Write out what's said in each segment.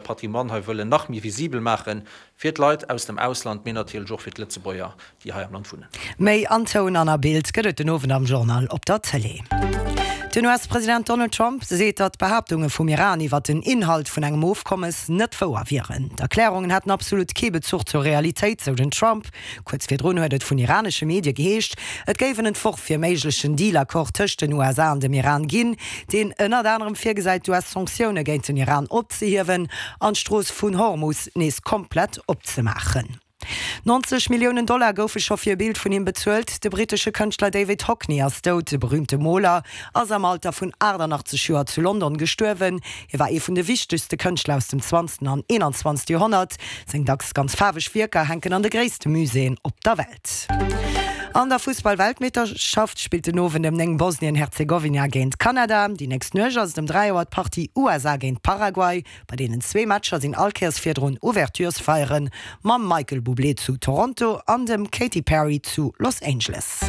Patrimoine hei wëllen nach méi visibel maache fir d'Leit aus dem Ausland, mee natierlech och fir d'Lëtzebuerger, déi hei am Land wunnen. Méi an Toun an a Bild gëtt et den Owend am Journal op der Tëlee. Den US-President Donald Trump seet, datt d'Behaaptunge vum Iran iwwer den Inhalt vun engem Ofkommes net wouer wieren. D'Erklärungen hätten absolut kee Bezuch zur Realitéit, sou den Trump. Kuerz virdrun huet et vun iranesche Medie geheescht, et géif en Entworf fir e méiglechen Deal-Accord tëscht den USA an dem Iran ginn, deen ënnert anerem virgesäit, d'US-Sanktioune géint den Iran opzehiewen an d'Strooss vun Hormus nees komplett opzemaachen. 90 Milliounen Dollar goufe scho fir e Bild vun him bezuelt. De brittesche Kënschtler David Hockney ass dout. De berüümte Moler ass am Alter vun 88 Joer zu London gestuerwen. Hie war ee vun de wichtegste Kënschtler aus dem zwanzten an 21. Joerhonnert. Seng dacks ganz faarweg Wierker hänken an de gréisste Muséeën op der Welt. An der Fussball-Weltmeeschterschaft spillt den Owend ëm 9 Bosnien-Herzegowina géint Kanada. Déi nächst Nuecht ass et ëm 3 Auer d'Partie USA géint Paraguay. Bei deenen zwee Matcher sinn all Kéiers virdrun Ouverturesfeiere mam Michael Bublé zu Toronto an dem Katy Perry zu Los Angeles.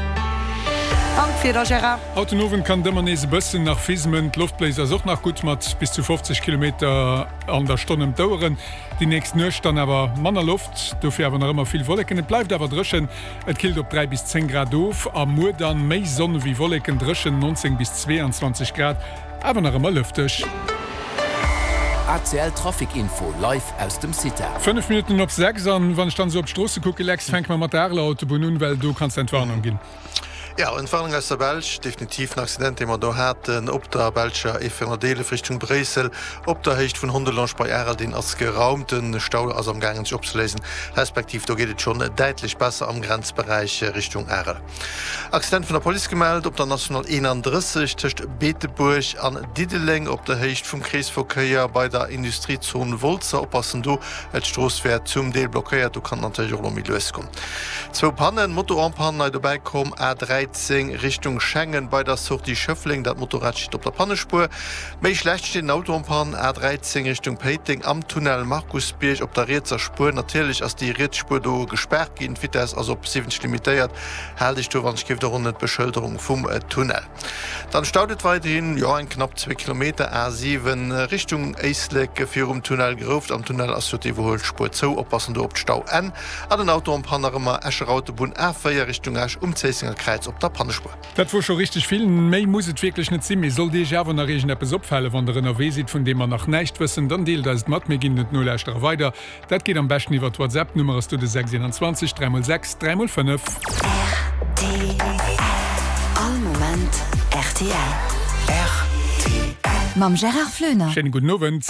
An d'Wieder, Gérard? Haut den Owend kann et ëmmer nees e bëssen nach fismen. D'Loftbléis ass och nach gutt mat bis zu 50 Kilometer an der Stonn ëm d'Oueren. Déi nächst Nuecht dann awer manner Loft, dofir awer nach ëmmer vill Wolleken. Et bleift awer dréchen, et killt op 3 bis 10 Grad of. A muer dann méi Sonn ewéi Wolleken, dréchen, 19 bis 22 Grad, awer nach ëmmer lëfteg. ACL Trafic Info live aus dem CITA. 5 Minutten op 6 an wann ech dann esou op d'Stroosse kucke Lex, fänke mer mat der Areler Autobunn un, well do kanns de Entwarnung ginn. Jo, Entwarnung aus der Belsch, definitiv en Accident dee mer do haten op der belscher E411 Richtung Bréissel op der Héicht vun Hondelange bei Arel, deen ass geraumt. De Stau ass am gaangen sech opzeléisen, respektiv do geet et schonn däitlech besser am Grenzberäich Richtung Arel. Accident vun der Police gemellt op der National 31 tëscht Beetebuerg an Diddeleng op der Héicht vum Kreesverkéier bei der Industriezon Wolzer. Oppassen do, d'Strooss wär zum Deel blockéiert, do kann et natierlech och elo méi lues goen. Zwou Pannen, Moto en panne, nei dobäi komm, A13 Richtung Schengen bei der Sortie Schëffleng, dat Motorrad steet op der Pannespuer. Méi schlecht steet en Auto en panne, A13 Richtung Péiteng am Tunnel Markusbierg op der rietser Spuer. Natierlech ass déi riets Spuer do gespaart ginn, d'Vitess ass op 70 limitéiert. Haalt Iech do wann ech géif och un d'Beschëlderung vum Tunnel. Dann staut et weiderhin, jo eng knapp zwee Kilometer, A7 Richtung Éislek virum Tunnel Grouft. Am Tunnel ass jo d'Iwwerhuelspuer zou, oppassen do op d'Stauenn. An den Auto en panne nach ëmmer Escher Autobunn A4 Richtung Esch um Zéissenger Kräiz op der Pannespuer. Dat wor scho richteg vill. Méi muss et wierklech net sinn. Mee sollt Iech awer nach iergendeppes opfalen, wann der ënnerwee sidd, vun deem mer nach näischt wëssen, dann deelt eis et mat. Mir ginn et Nolauschterer weider. Dat geet am beschten iwwer WhatsApp. D'Nummer ass do de 6 21 3 x 6 3 x 5. Rtl. All Moment rtl. Rtl. Mam Gérard Floener. Schéine gudden Owend.